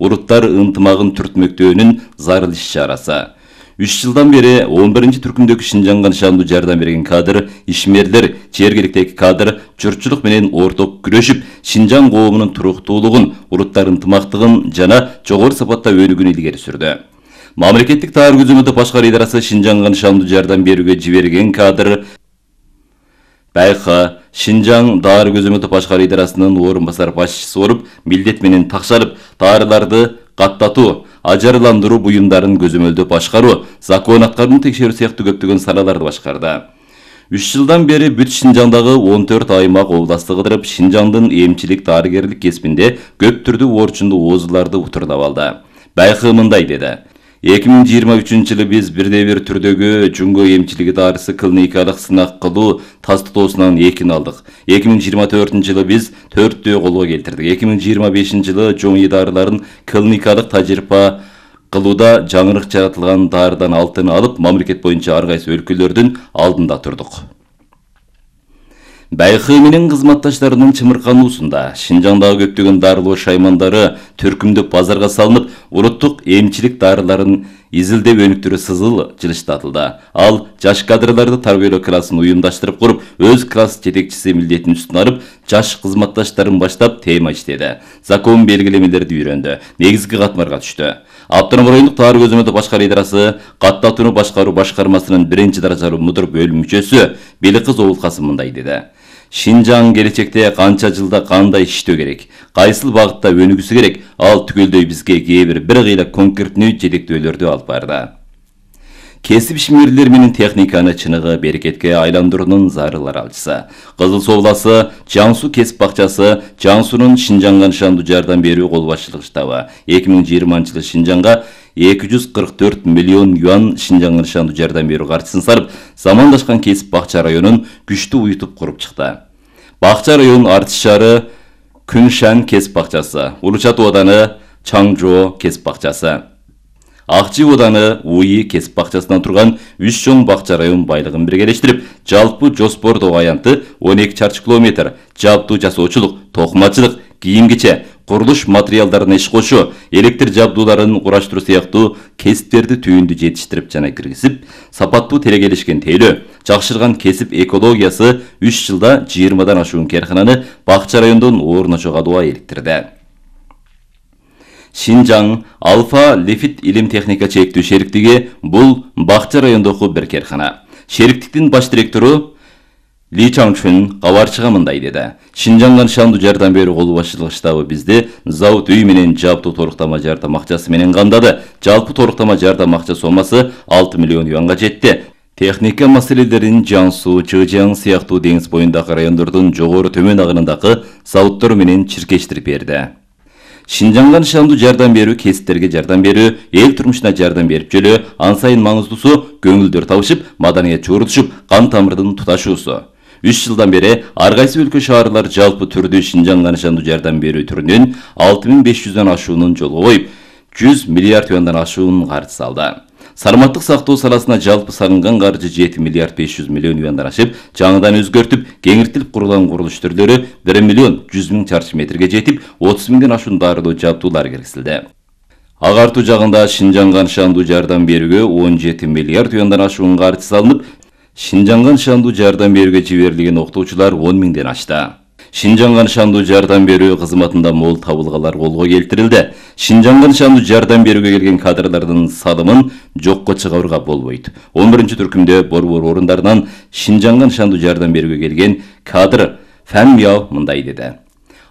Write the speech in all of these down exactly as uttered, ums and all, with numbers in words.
уруттар ынтымагын түртмөктөөнүн зарыл иш-чарасы. үч жылдан бери он биринчи түркүмдөгү Шинжанга нышандуу жардам берген кадр, ишмерлер, жергиликтеги кадр журтчулук менен орток күрөшүп, Шинжаң коомунун туруктуулугун, уруттар ынтымактыгын жана жогору сапатта өнүгүүнү илгери сүрдү. Мамлекеттик таар көзөмөлдөө башкаруу идарасы Шинжанга нышандуу жардам берүүгө жиберген кадр Байка Шинжаң дары көзөмөлдөө башкаруу идарасынын орун басар башчысы болуп, милдет менен такшалып, даарыларды каттатуу, ажарландыруу буюмдарын көзөмөлдөө башкаруу, закон аткарууну текшерүү сыяктуу көптөгөн салаларды башкарды. үч жылдан бери бүт Шинжаңдагы он төрт аймак областы кыдырып, Шинжаңдын эмчилик дарыгерлик кесибинде көп түрдүү орчундуу оозуларды утурлап алды. Байкы мындай деди: эки миң жыйырма үчүнчү жылы биз бирде бир түрдөгү жуңго эмчилиги дарысы клиникалык сынак кылуу тастыоосунан экини алдык. эки миң жыйырма төртүнчү жылы биз төрттөө колго келтирдик. эки миң жыйырма бешинчи жылы жоң дарыларын клиникалык тажрыйба кылууда жаңырык жаратылган дарыдан алтыны алып, мамлекет боюнча ар кайсы өлкөлөрдүн алдында турдук. Байкы менен кызматташтарынын чымыркануусунда Шинжаңдагы көптөгөн дарылоо шаймандары түркүмдөп базарга салынып, уруттук эмчилик дарыларын изилдеп өнүктүрүү сызыл жылыштатылды. Ал жаш кадрларды тарбиялоо классын уюмдаштырып куруп, өз класс жетекчиси милдетин үстүнө алып, жаш кызматташтарын баштап тема иштеди. Закон белгилемелерди үйрөндү, негизги катмарга түштү. Автономдук райондук таар көзөмөлдөө башкаруу идарасы каттатууну башкаруу башкармасынын биринчи даражалуу мудур бөлүм мүчөсү Беликкыз Обулкасым мындай деди: Шинжаң келечекте канча жылда кандай иштөө керек, кайсыл багытта өнүгүсү керек, ал түгөлдөй бизге кээ бир бир кыйла конкреттүү жетектөөлөрдү алып барды. Кесип ишмерлер менен техниканы чыныгы берекетке айландыруунун зарыл аралчысы. Кызыл Суу обласы Жаң Суу кесип бакчасы Жаң Суунун Шинжаңга нышандуу жардам берүү кол башчылык штабы эки миң жыйырманчы жылы Шинжаңга эки жүз кырк төрт миллион юан Шинжаңга нышандуу жардам берүү каржысын сарып, замандашкан кесип бакча районун күчтүү уютуп куруп чыкты. Бакча район Артис шаары Күншан кесип бакчасы, Улучат ооданы Чаңжоо кесип бакчасы, Акчы ооданы Уй кесип бакчасынан турган үч чоң бакча район байлыгын биргелештирип, жалпы жоспордогу аянты он эки чарчы километр, жабдуу жасоочулук, токмачылык, кийим-кече, курулуш материалдарына иш кошуу, электр жабдууларын кураштыруу сыяктуу кесиптерди түйүндү жетиштирип жана киргизип, сапаттуу терегелешкен тейлөө, жакшырган кесип экологиясы үч жылда жыйырмадан ашуун керкананы бакча райондон орночо калууга иликтирди. Шинжаң Алфа Лифит илим техника чектүү шериктиги бул бакча райондогу бир керкана. Шериктиктин баш директору Ли Чаңчун кабарчыга мындай деди: Шинжаңга нышандуу жардам берүү кол башчылык штабы бизди завод үй менен жабдуу торуктама жардам акчасы менен камдады. Жалпы торуктама жардам акча сомасы алты миллион юанга жетти. Техника маселелерин Жаң Суу, Чыжаң сыяктуу деңиз боюндагы райондордун жогору төмөн агынындагы заводдор менен чиркештирип берди. Шинжаңга нышандуу жардам берүү кесиптерге жардам берүү, эл турмушуна жардам берип жөлөө, ан сайын маңыздуусу көңүлдөр табышып, маданият чогултушуп, кан тамырдын туташуусу. үч жылдан бери ар кайсы өлкө шаарлар жалпы түрдүү Шинжаңга нышандуу жардам берүү түрүнүн алты миң беш жүздөн ашуунун жолго коюп, жүз миллиард юандан ашуун каржы салды. Саламаттык сактоо саласына жалпы салынган каржы жети миллиард беш жүз миллион юандан ашып, жаңыдан өзгөртүп, кеңиртилип курулган курулуш түрлөрү бир миллион жүз миң чарчы метрге жетип, отуз миңден ашуун дарылоо жабдуулар киргизилди. Агартуу жагында Шинжаңга нышандуу жардам берүүгө он жети миллиард юандан ашуун каржы салынып, Шинжаңга нышандуу жардам берүүгө жиберилген октоочулар он миңден ашты. Шинжаңга нышандуу жардам берүү кызматында мол табылгалар колго келтирилди. Шинжаңга нышандуу жардам берүүгө келген кадрлардын салымын жокко чыгарууга болбойт. он биринчи түркүмдө борбор орундарынан Шинжаңга нышандуу жардам берүүгө келген кадр Фан Мяо мындай деди: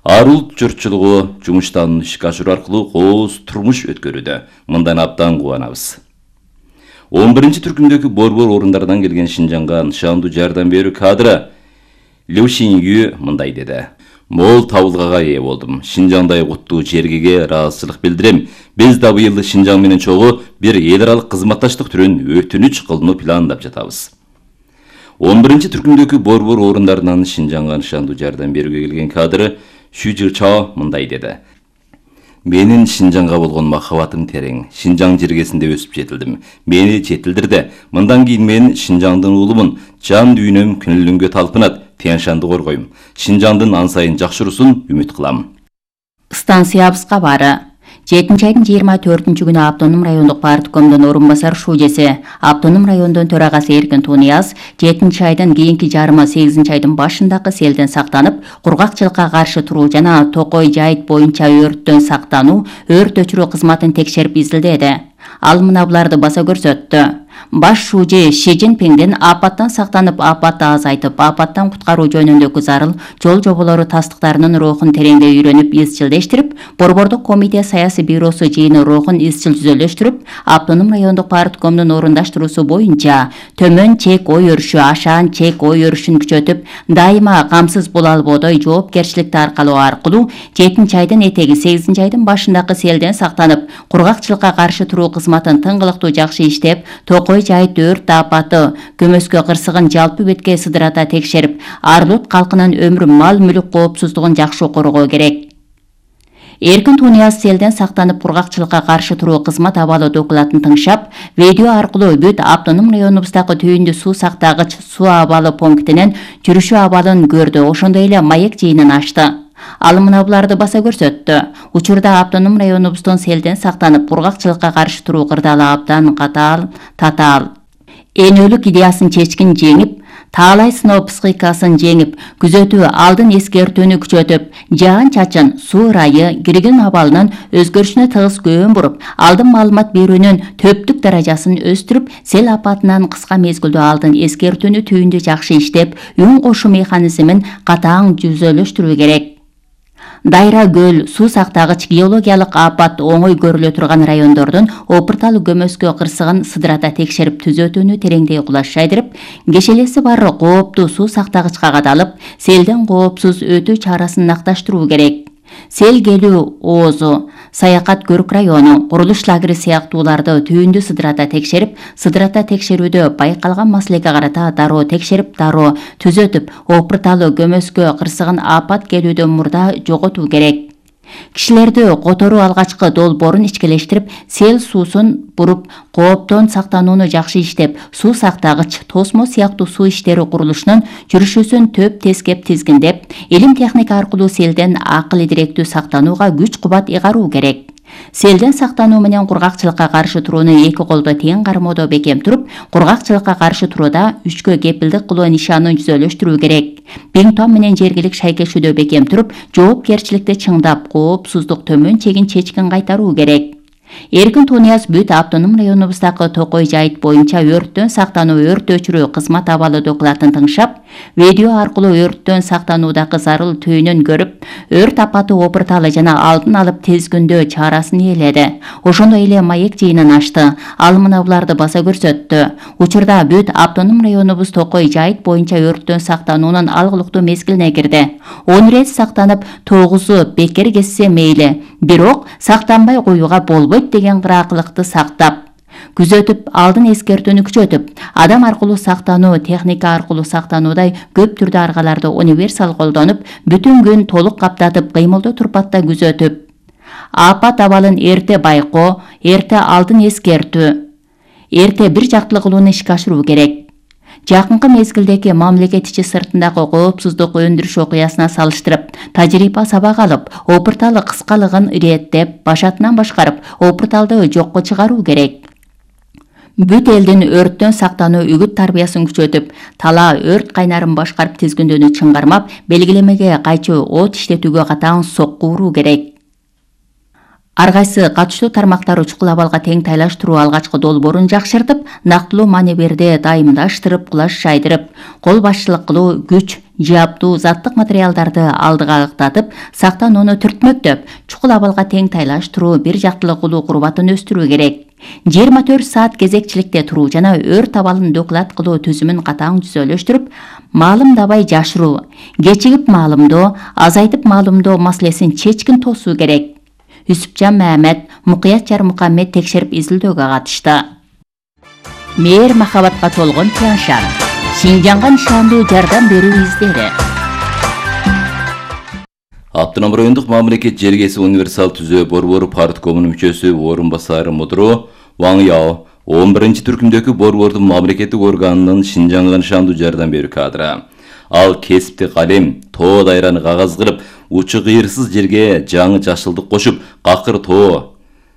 Ар улут журтчулугу жумуштан ишке ашыруу аркылуу кооз турмуш өткөрүүдө. Мындан абдан кубанабыз. он биринчи түркүмдөгү борбор орундарынан келген Шинжаңга нышандуу жардам берүү кадры Лю Шинью мындай деди: Мол табылгага ээ болдум. Шинжаңдай куттуу жергеге ыраазычылык билдирем. Биз да быйыл Шинжаң менен чогуу бир эл аралык кызматташтык түрүн өтүнүч кылууну пландап жатабыз. он биринчи түркүмдөгү борбор орундарынан Шинжаңга нышандуу жардам берүүгө келген кадры Шү Жычао мындай деди: Менин Шинжаңга болгон махабатым терең. Шинжаң жергесинде өсүп жетилдим. Мени жетилдирди. Мындан кийин мен Шинжаңдын уулумун. Жан дүйнөм күнүлүнгө талпынат. Тяншанды коргойм. Шинжаңдын ан сайын жакшыруусун үмүт кылам. Станция абыз кабары. жетинчи айдын жыйырма төртүнчү күнү Автоном райондук парткомдун орун басар шуужеси, Автоном райондун төрагасы Эркин Тунияз жетинчи айдын кийинки жарымы сегизинчи айдын башындагы селден сактанып, кургакчылыкка каршы туруу жана Токой жайыт боюнча өрттөн сактануу, өрт өчүрүү кызматын текшерип изилдеди. Ал мына буларды баса көрсөттү. Баш шуужи Ши Цзиньпиндин апаттан сактанып, апатты азайтып, апаттан куткаруу жөнүндөгү зарыл жол жоболору тастыктарынын рухун тереңдей үйрөнүп, изчилдештирип, Борбордук комитет саясий бюросу жыйыны рухун изчил түзөлөштүрүп, Автоном райондук парткомдун орундаштыруусу боюнча төмөн чек ой өрүшү, ашаан чек ой өрүшүн күчөтүп, дайыма камсыз боло албоодой жоопкерчиликти аркалоо аркылуу жетинчи айдын этеги сегизинчи айдын башындагы селден сактанып, кургакчылыкка каршы туруу кызматын тыңгылыктуу жакшы иштеп, Токой жайыт өрт апаты көмөскө кырсыгын жалпы бетке сыдырата текшерип, Арлут калкынын өмүр, мал мүлүк коопсуздугун жакшы коргоо керек. Эркин Тунияз селден сактанып, кургакчылыкка каршы туруу кызмат абалы докладын тыңшап, видео аркылуу бүт Автоном районубуздагы түйүндү суу сактагыч суу абалы пунктинен жүрүшү абалын көрдү, ошондой эле маек жыйынын ачты. Ал мына буларды баса көрсөттү. Учурда Автоном районубуздун селден сактанып, кургакчылыкка каршы туруу кырдаалы абдан катаал, татаал. Энөлүк идеясын чечкин жеңип, таалай сыноо психикасын жеңип, күзөтүү алдын эскертүүнү күчөтүп, жаан-чачын, суу ырайы, кирген абалынын өзгөрүшүнө тыгыз көөн буруп, алдын маалымат берүүнүн төптүк даражасын өстүрүп, сел апатынан кыска мезгилдүү алдын эскертүүнү түйүндү жакшы иштеп, үн кошуу механизмин катаң түзөлөштүрүү керек. Дайра көл, суу сактагыч, геологиялык апат оңой көрүлө турган райондордун опуртал көмөскө кырсыгын сыдырата текшерип, түзөтүүнү тереңдей кулаш жайдырып, кешелеси бар кооптуу суу сактагычка кадалып, селден коопсуз өтүү чарасын накташтыруу керек. Сел келүү оозу, саякат көрүк району, курулуш лагери сыяктууларды түйүндү сыдырата текшерип, сыдырата текшерүүдө байкалган маселеге карата дароо текшерип, дароо түзөтүп, опурталы көмөскө кырсыгын апат келүүдөн мурда жоготуу керек. Кишилерди которуу алгачкы долбоорун ичкелештирип, сел суусун буруп, кооптон сактанууну жакшы иштеп, суу сактагыч, тосмо сыяктуу суу иштери курулушунун жүрүшүсүн төп тескеп тизгиндеп, илим техника аркылуу селден акыл идиректүү сактанууга күч кубат ыйгаруу керек. Селден сактануу менен кургакчылыкка каршы турууну эки колдо тең кармоодо бекем туруп, кургакчылыкка каршы турууда үчкө кепилдик кылуу нишанын түзөлөштүрүү керек. Пингтон менен жергилик шайкешүүдө бекем туруп, жоопкерчиликти чыңдап, коопсуздук төмөн чегин чечкин кайтаруу керек. Эркин Тунияз бүт Автоном районубуздагы Токой жайыт боюнча өрттөн сактануу, өрт өчүрүү кызмат абалы докладын тыңшап, видео аркылуу өрттөн сактануудагы зарыл түйүнүн көрүп, өрт апаты опурталы жана алдын алып тезгүндөө чарасын ээледи. Ошондой эле маек жыйынын ачты. Ал мына буларды баса көрсөттү. Учурда бүт Автоном районубуз Токой жайыт боюнча өрттөн сактануунун алгылыктуу мезгилине кирди. он рет сактанып, тогузу бекер кетсе мейли, бирок сактанбай коюуга болбойт деген кыраакылыкты сактап, күзөтүп, алдын эскертүүнү күчөтүп, адам аркылуу сактануу, техника аркылуу сактануудай көп түрдүү аргаларды универсал колдонуп, бүтүн күн толук каптатып, кыймылдуу турпатта күзөтүп, апат абалын эрте байкоо, эрте алдын эскертүү, эрте бир жактылуу кылууну ишке ашыруу керек. Жакынкы мезгилдеги мамлекет ичи сыртындагы коопсуздук өндүрүш окуясына салыштырып, тажрыйба сабак алып, опурталы кыскалыгын иреттеп, башатынан башкарып, опурталды жокко чыгаруу керек. Бүт элдин өрттөн сактануу үгүт тарбиясын күчөтүп, тала өрт кайнарын башкарып тизгиндөөнү чыңгармап, белгилемеге кайчу от иштетүүгө катаң сокку уруу керек. Ар кайсы катыштуу тармактар учкул абалга тең тайлаштыруу алгачкы долбоорун жакшыртып, нактылуу маневрди дайымдаштырып, кулаш жайдырып, кол башчылык кылуу, күч, жаптуу, заттык материалдарды алдыга ыктатып, сактанууну түртмөктөп, чукул абалга тең тайлаштыруу, бир жактылуу кылуу курбатын өстүрүү керек. жыйырма төрт саат кезекчиликте туруу жана өрт абалын доклад кылуу түзүмүн катаң түзөлөштүрүп, маалымдабай жашыруу, кечигип маалымдоо, азайтып маалымдоо маселесин чечкин тосуу керек. Үсүпжан Мамед, Мукуят Жармухаммед текшерип изилдөөгө катышты. Мээр махабатка толгон Тяншан, Шинжанга нишандуу жардам берүү издери. Автоном райондук мамлекет жергеси универсал түзөө борбору парткомунун мүчөсү орун басары мудуру Ваң Яо он биринчи түркүмдөгү борбордун мамлекеттик органынын Шинжанга нишандуу жардам берүү кадры. Ал кесипти калем, тоо дайраны кагаз кылып, учу кыйырсыз жерге жаңы жашылдык кошуп, какыр тоо,